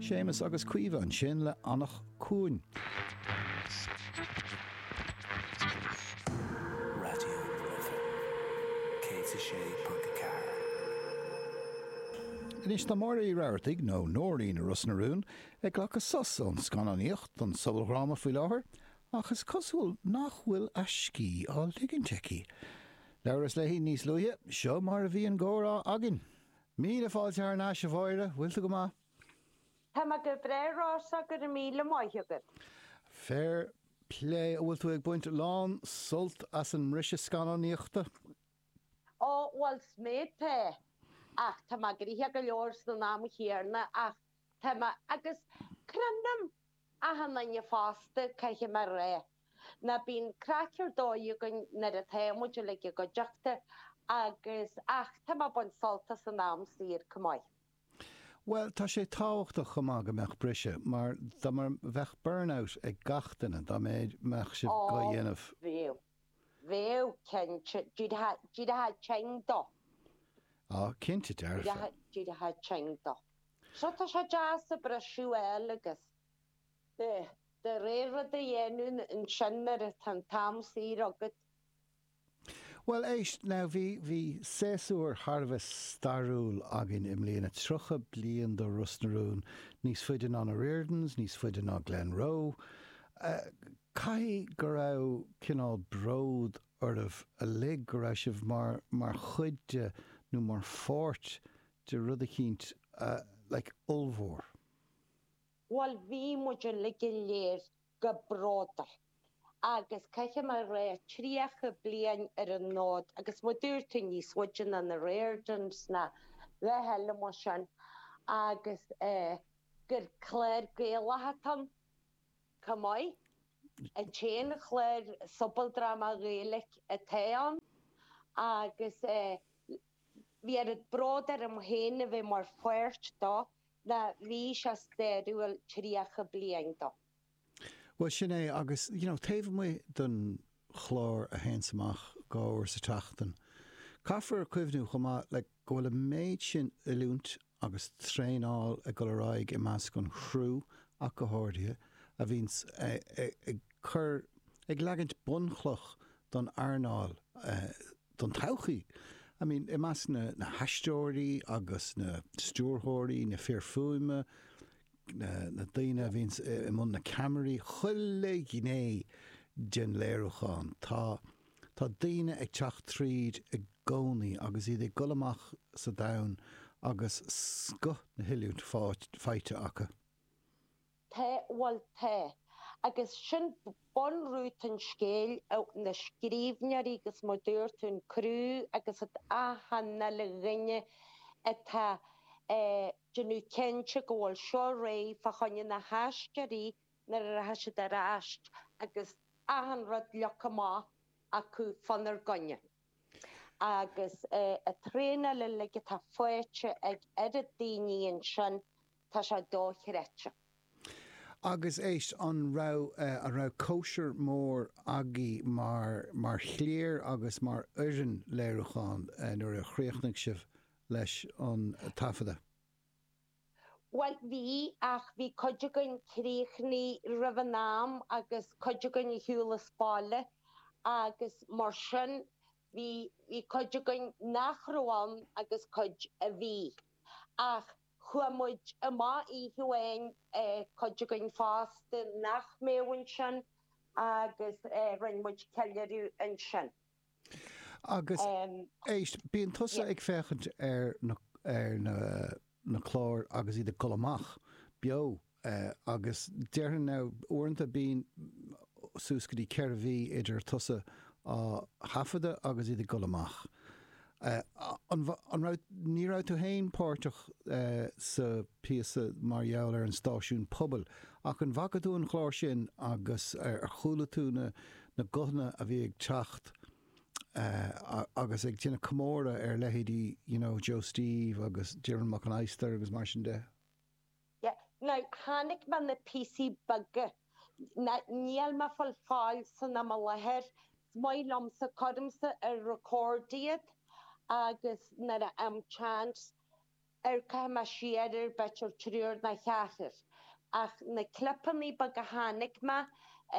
Séamus agus Caoimhe ansin le Anach Cuain. Raidió na Life 106.4. Anois tá Máire Uí Rabhartaigh, nó Nóirín i Ros na Rún, ag glacadh sos ón scannánaíocht don sobaldhráma faoi láthair, ach is cosúil nach bhfuil a scíth á ligint aici. Labhras léi níos luaithe, seo mar a bhí an gcomhrá againn. Míle fáilte thar n-ais, a Mháire, bhfuil tú go maith? Tá mé go breá Rossa, go raibh míle maith agat. Fair plé, an bhfuil tú ag baint lán sult as an mbriseadh scannánaíochta? Ó, bhuel, 's mé tá, ach tá mé gnoitheach go leor san am chéanna ach tá mé, agus cronaim achan duine fosta, caithfidh mé a rá, ná bíonn craic ar dóigh againn nuair atá muid uilig i gcuideachta agus, ach tá mé ag baint sult as an am saor chomh maith. Bhuel, tá sé tábhachtach chomh maith go mbeadh briseadh, mar dá mbeadh burnout ag gach duine, dá mbeadh sibh dhá Ó, dhéanamh. bheadh. Bheadh, cinnte. D'éireofá tinn dó. Á, cinnte dearfa. D'éireofá tinn dó. So tá sé deas an briseadh a fháil agus do rogha rud a dhéanamh ansin nuair atá an t-am saor agat. Bhuel, éist, now, bhí, bhí séasúr thar a bheith stairiúil againn i mbliana, 30 bliain do Ros na Rún, níos faide ná na Riordans, níos faide ná Glenroe. Caithfidh go raibh cineál bród oraibh uilig go raibh sibh mar, mar chuid de nó mar pháirt de rud eicínt, like, ollmhór. Bhuel, bhí muid uilig go léir go bródúil agus caithfidh mé a rá 30 bliain ar an fhód agus mar dúirt tú níos faide ná na Riordans ná a dhath eile mar sin agus gur clár Gaelach atá ann chomh maith, an t-aon chlár sobaldráma Gaeilge atá ann agus bhí oiread bród orm féin a bheith mar pháirt dó ná bhí sé stairiúil 30 bliain dó. Bhuel, sin é, agus, you know, taobh amuigh den chlár a théanns amach dhá uair sa tseachtain, caithfear cuimhniú chomh maith, like, go bhfuil an méid sin oiliúint agus traenáil ag dul ar aghaidh i measc an chriú ach go háirithe, a bhíonns ag cur, ag leagaint bunchloch don earnáil, don todhchaí. I mean, i measc na, na haisteoirí agus na stiúrthóirí, na fir fuaime, na daoine a bhíonns i mbun na ceamaraí, chuile ghné den léiriúchán. Tá, tá daoine ag teacht tríd i gcónaí agus iad ag dul amach sa domhan agus scoth na hoiliúint faighte acu. Tá, bhuel tá. Agus sin bunrút an scéil, na scríbhneoirí agus mar dúirt tú an criú agus achan uile dhuine atá ag déanamh cinnte go bhfuil seo réidh fá choinne na haisteoirí nuair a rachaidh siad ar ais agus achan rud leagtha amach acu fánár gcoinne. Agus an traenáil uilig atá faighte ag oiread daoine ansin, tá sé dochreidte. Agus éist, an raibh, an raibh cóisir mór agaibh mar, mar chliar agus mar fhoireann léiriúcháin nuair a chríochnaigh sibh leis an taifeadadh? Bhuel, bhí, ach bhí cuid againn críochnaithe roimh an am agus cuid againn ar shiúl as baile agus mar sin bhí, bhí cuid againn nach raibh ann agus cuid a bhí. Ach chuaigh muid amach oíche amháin, cuid againn fosta nach mbeadh ansin agus rinne muid ceiliúradh ansin. Agus éist, bíonn tusa ag féachaint ar na, ar na, na cláir agus iad ag dul amach beo agus déarfainn now uaireanta bíonn suas go dtí 4 mhí idir tusa á thaifeadadh agus iad ag dul amach. An, an raibh, ní raibh tú féin páirteach sa phíosa mar gheall ar an stáisiún pobail ach an bhfaca tú an chlár sin agus ar chuala tú na, na guthanna a bhí ag teacht agus ag déanamh comóradh ar leithéidí you know Joe Steve agus Diarmuid Mac an Adhastair agus mar sin de. Yeah, now chonaic mé na píosaí beaga, now níl mé fáil fáil san am i láthair, is maith liomsa, cuirimse ar record iad agus nuair a fhaighim chance. Amharcfaidh mé siar ar b'fhéidir triúr nó ceathrar ach na clipeanna beaga a chonaic mé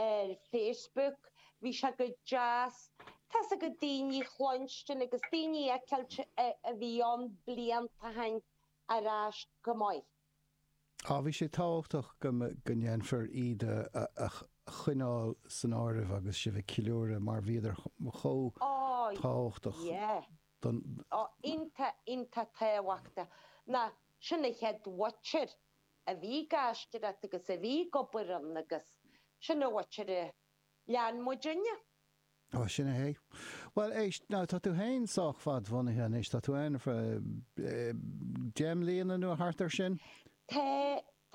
ar Facebook bhí sé go deas tá's agat daoine a chluinstin agus daoine a fheiceáilt a bhí ann blianta ó shin ar ais go maith. Á, bhí sé tábhachtach go go ndéanfar iad a choinneáil san áireamh agus sibh ag ceiliúradh mar bhíodar chomh tábhachtach. Yeah. don. Á, iontach, iontach tábhachtach. Ná sin an chéad mhuintir a bhí ag aisteoireacht agus a bhí ag obair ann agus sin an mhuintir a lean muidinne. Á, sin é. Bhuel, éist, now tá tú féin sách fad-bhunaithe anois, tá tú ann ar feadh 10 mbliana nó thart ar sin? Tá,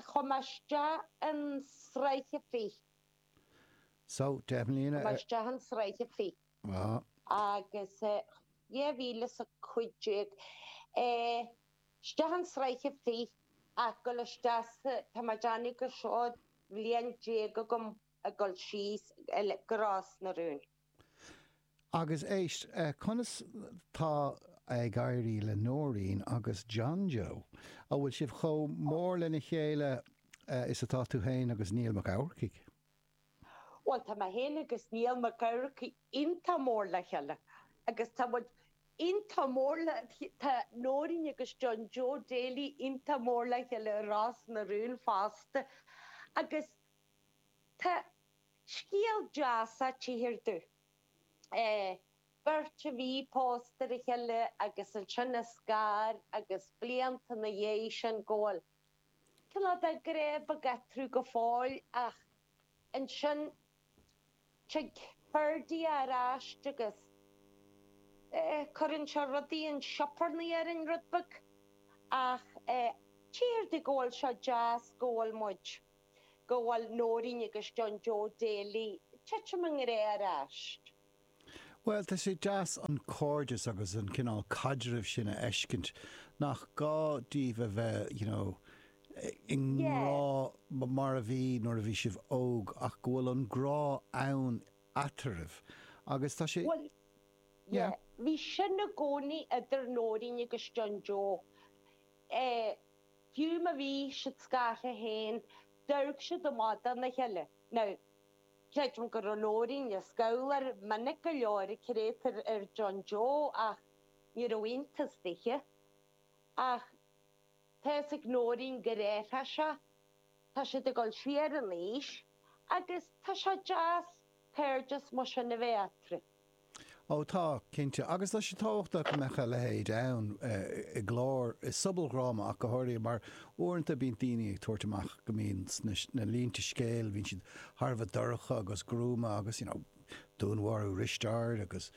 chuaigh mé isteach in sraith a fiche. So, 10 mbliana. Chuaigh mé isteach in sraith a fiche. Agus 2015, isteach in sraith a fiche ach dul isteach sa, tá mé ag déanamh gur seo bhliain déag agam ag dul síos go Ros na Rún. Agus éist, conas tá ag éirí le Nóirín agus John Joe? An bhfuil sibh chomh mór lena chéile is atá tú féin agus Niall Mac Eamharcaigh? Bhuel, tá mé féin agus Niall Mac Eamharcaigh iontach mór le chéile agus tá muid iontach mór le, tá Nóirín agus John Joe Daly iontach mór le chéile i Ros na Rún fosta agus tá scéal deas á tchíthear domh. Beirt a bhí pósta ar a chéile agus ansin a scar agus blianta ina dhiaidh sin go bhfuil cineál de grá beag eatarthu go fóill ach ansin tig Ferdia ar ais agus cuireann sé rudaí an sioparnaí orainn rud beag ach tchíthear domh go bhfuil sé deas go bhfuil muid, go bhfuil Nóirín agus John Joe Daly titim i ngrá ar ais. Bhuel, tá sé deas an cairdeas agus an cineál caidrimh sin a fheiscint, nach gá daoibh a bheith, you know, i ngrá mar a bhí nuair a bhí sibh óg, ach go bhfuil an grá ann eatarthu. Agus tá sé. Bhuel, yeah, bhí sin i gcónaí idir Nóirín agus John Joe. Eh, fiú má bhí siad scartha féin, d'amharc siad amach dona chéile. Now, Creidim go raibh Nóirín ag scabhláil minic go leor ag créatúr ar John Joe ach ní raibh iontas dithe. Ach tá fhios ag Nóirín gur athraigh sé, tá siad ag dul siar in aois agus tá sé deas cairdeas mar sin a bheith eatarthu. Ó tá, cinnte. Agus tá sé tábhachtach go mbeadh a leithéid ann i gclár, i sobaldhráma ach go háirithe, mar uaireanta bíonn daoine ag tabhairt amach go mbíonn sna línte scéil, bíonn siad thar a bheith dorcha agus gruama agus, you know, dúnmharú Risteaird agus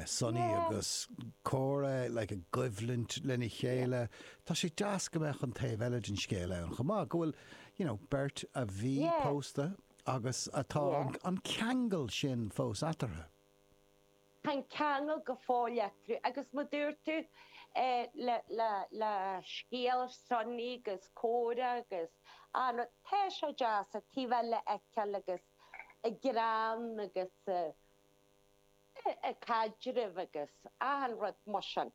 Sonny agus Córa like i gcoimhlint lena chéile. Tá sé deas go mbeadh an taobh eile den scéal ann chomh maith, go bhfuil, you know, beirt a bhí pósta, Agus atá an ceangal sin fós eatarthu. Tá an ceangal go fóill eatarthu agus mar dúirt tú le scéal Sonny agus Córa agus an rud, tá sé deas an taobh eile a fheiceáil agus a greann agus a caidreamh agus achan rud mar sin.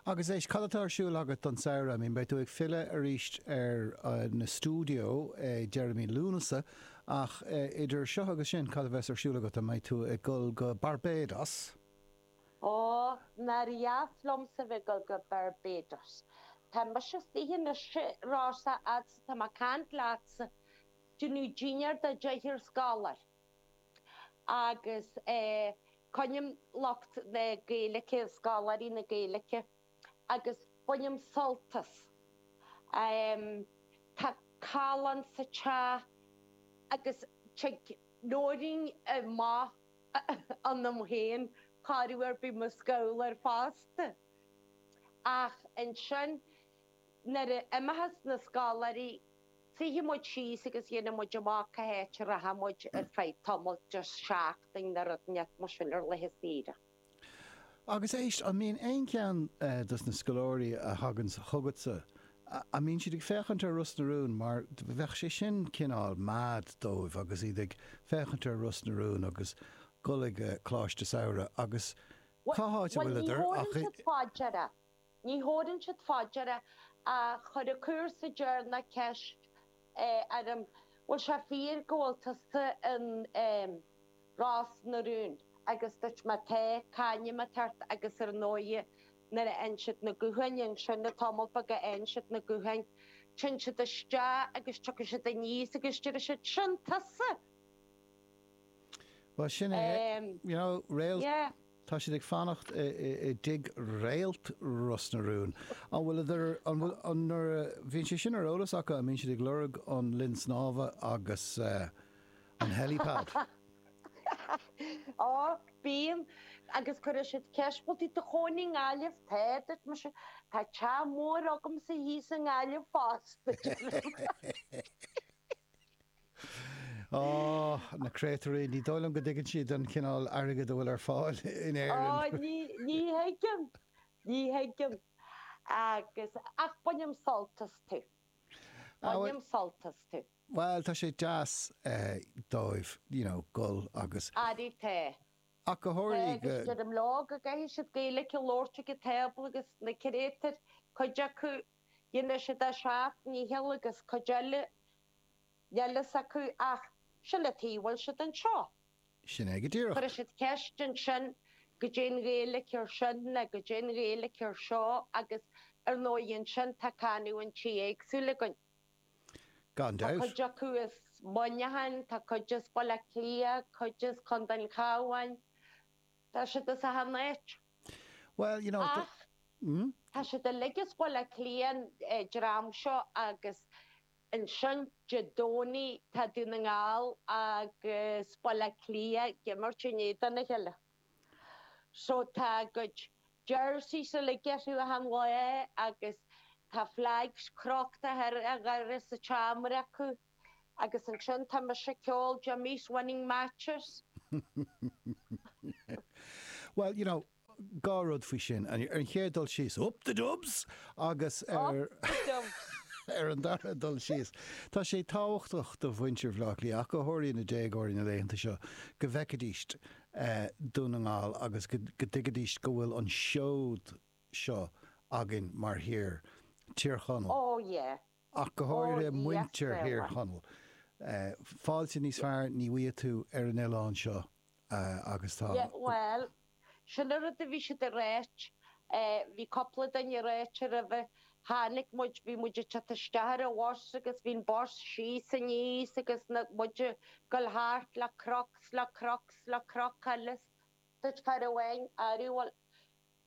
Agus éist, cad atá ar siúl agat don samhradh? I mean, beidh tú ag filleadh arís ar na stiúideo ag deireadh mí Lúnasa, ach idir seo agus sin, cad a bheas ar siúl agat? An mbeidh tú ag dul go Barbados? Ó, nár dheas liomsa bheith ag dul go Barbados. Tá mise istigh anois, Rossa, fhad 's atá mé ag caint leatsa, déanamh dinnéar do deichniúr scoláire. Agus coinním lucht na Gaeilge, scoláirí na Gaeilge, agus bainim sult as. Tá callán sa teach agus tig Nóirín amach ionam féin chor ar bith mo scabhal fosta. Ach ansin nuair a imeochas na scoláirí Suífidh muid síos agus dhéanfaidh muid amach cá háit a rachaidh muid ar feadh tamaill, just seachtain nó rud inteacht mar sin ar laetha saoire. Agus éist, an mbíonn aon cheann dos na scoláirí a thaganns chugatsa, an mbíonn siad ag féachaint ar Ros na Rún mar bheadh sé sin cineál mad dóibh agus iad ag féachaint ar Ros na Rún agus dul ag Coláiste Samhraidh agus cá háit a Bhuel, ní bhfuileadar thabhrann ach siad fá deara. Ní thabhrann siad fá deara. Ach chuir an cúrsa deireanach ceist orm, bhfuil sé fíor go bhfuil tusa in Ros na Rún? Agus dúirt mé tá, c'ainm atá ort agus ar ndóighe nuair a fhaigheann siad na gutháin ansin, an tamall beag a fhaigheann siad na gutháin, téann siad isteach agus tiocfaidh siad aníos agus déarfaidh siad, sin tusa! Bhuel sin é, you know, réalt, yeah. Tá siad ag fanacht i dtigh Réalt Ros na Rún. An bhfuil, an bhfuil, an nuair a bhíonn sé sin ar eolas acu, an mbíonn siad ag lorg an linn snámha agus an helipad? Á, bíonn, agus cuirfidh siad ceist, bhfuil tú i do chónaí i nGaillimh? Tá, dúirt mise, tá teach mór agamsa thíos i nGaillimh fosta. Á, na créatúirí, ní dóigh liom go dtuigeann siad an cineál airgid a bhfuil ar fáil in Éirinn. Á, ní, ní thuigeann, ní thuigeann. Agus, ach bainim sult astu. Bainim sult astu. Bhuel, tá sé deas dóibh, you know, dul agus. Arae tá. Ach go háirithe go. Agus deirim leo go gcaithfidh siad Gaeilge a labhairt ag an tábla agus na créatúir, cuid acu, dhéanfaidh siad a seacht ndícheall agus cuid eile, níl fhios acu ach sin an tuige a bhfuil siad anseo. Sin é go díreach. Cuirfidh siad ceist ansin goidé an Ghaeilge ar sin nó goidé an Ghaeilge ar seo agus ar ndóigh ansin tá canúintí éagsúla againn. Gan Tá dabht. cuid acu as Muineachán, tá cuid as Baile Átha Cliath, cuid as Contae an Chabháin, tá siad as achan áit. Well, you know, Ach tá siad uilig as Baile Átha Cliath, an dream seo, agus ansin Dé Domhnaigh tá Dún na nGall agus Baile Átha Cliath ag imirt in éadan a chéile. So tá a gcuid jerseys uilig orthu achan lá agus tá flags crochta ar an dhoras sa tseomra acu agus ansin tá mise ag ceol Jimmy's Winning Matches. Well, you know, 2 rud faoi sin. Ar an chéad dul síos, up the Dubs! Agus ar Up the Dubs! ar an dara dul síos, tá sé tábhachtach do mhuintir Bhaile Átha Cliath, ach go háirithe na déagóirí na laethanta seo, go bhfeicfidís Dún na nGall agus go dtuigfidís go bhfuil an seod seo againn mar thír, Tír Chonaill. Oh yeah. Ach go háirithe muintir Thír Chonaill. Fáilte níos fearr ní bhfaighidh tú ar an oileán seo agus tá. Yeah, bhuel, sin an rud a bhí siad ag ráit, bhí cúpla duine ag ráit roimhe, tháinig muid, bhí muid ag teacht isteach ar an bhus agus bhí an bus síos aníos agus na, muid ag goil thart le cnoc 's le cnoc 's le cnoc eile 's dúirt fear amháin, arú, bhuel,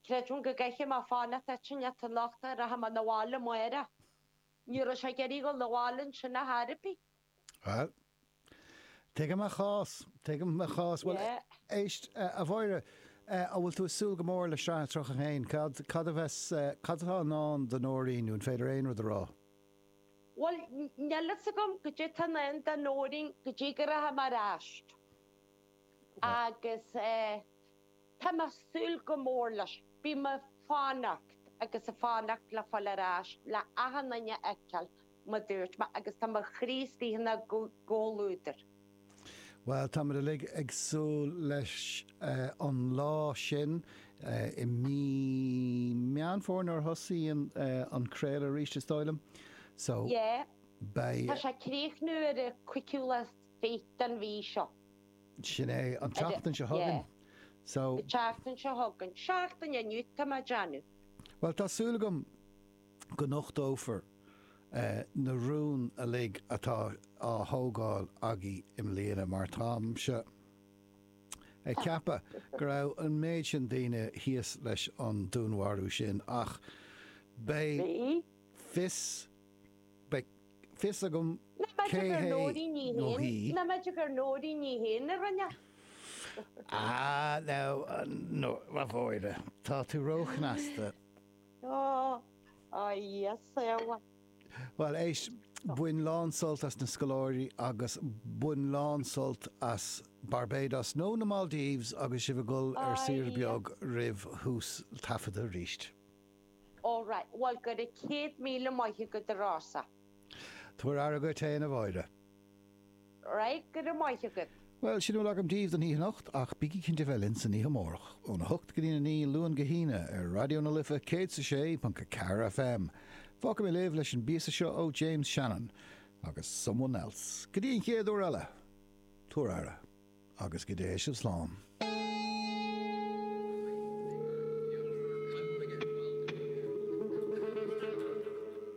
creidim go gcaithfidh mé fanacht áit inteacht anocht, rachaidh mé 'na bhaile amárach. Ní raibh sé ag iarraidh dhul 'na bhaile ansin ar chor ar bith. Bhuel, tuigim a chás, tuigim a chás. Bhuel, éist, a Mháire, an bhfuil tú ag súil go mór le Sraith 31? Cad, cad a bheas, cad atá i ndán do Nóirín, nó an féidir aon rud a rá? Bhuel, níl fhios agam goidé tá i ndán do Nóirín go dtí go rachaidh mé ar ais. Agus eh, tá mé ag súil go mór leis. Bím ag fanacht agus ag fanacht le fáil ar ais le achan duine a fheiceáil, mar dúirt mé, agus tá mo chroí istigh ina gcomhluadar. Bhuel, táimid uilig ag súil leis an lá sin i mí Meán Fómhair nuair a thosaíonn an craoladh arís, is dóigh liom. So, Yeah. beidh. Tá sé ag críochnú ar an cúigiú lá is fiche den mhí seo. Sin é, an tseachtain seo chugainn. Yeah. So. An tseachtain seo chugainn. Seachtain inniu, tá mé ag déanamh. Bhuel, tá súil agam go nochtófar na rúin uilig atá á thógáil agaibh i mbliana mar táimse ag ceapadh go raibh an méid sin daoine thíos leis an dúnmharú sin ach beidh fios beidh fios agam cé hé nó hí. Nach mb'fhéidir gur Nóirín í féin a rinne? Ah now, no, a Mháire, tá tú róchneasta. Ó, a Íosa. Bhuel, éist, bain lán-sult as na scoláirí agus bain lán-sult as Barbados nó na Maldives agus sibh ag dul ar saoire beag roimh thús taifeadta arís. All right, bhuel, go raibh 100,000 maith agat a Rossa. Tabhair aire dhuit fhéin, a Mháire. Right, go raibh maith agat. Bhuel, sin a bhfuil agam daoibh don oíche anocht, ach bígí cinnte bheith linn san oíche amárach, óna hocht go dtí a 9, Luan go hAoine, ar Raidió na Life 106.4 FM. Fágfaidh mé libh leis an bpíosa seo ó James Shannon agus Someone Else. Go dtí an chéad uair eile, tabhair aire agus go dté sibh slán.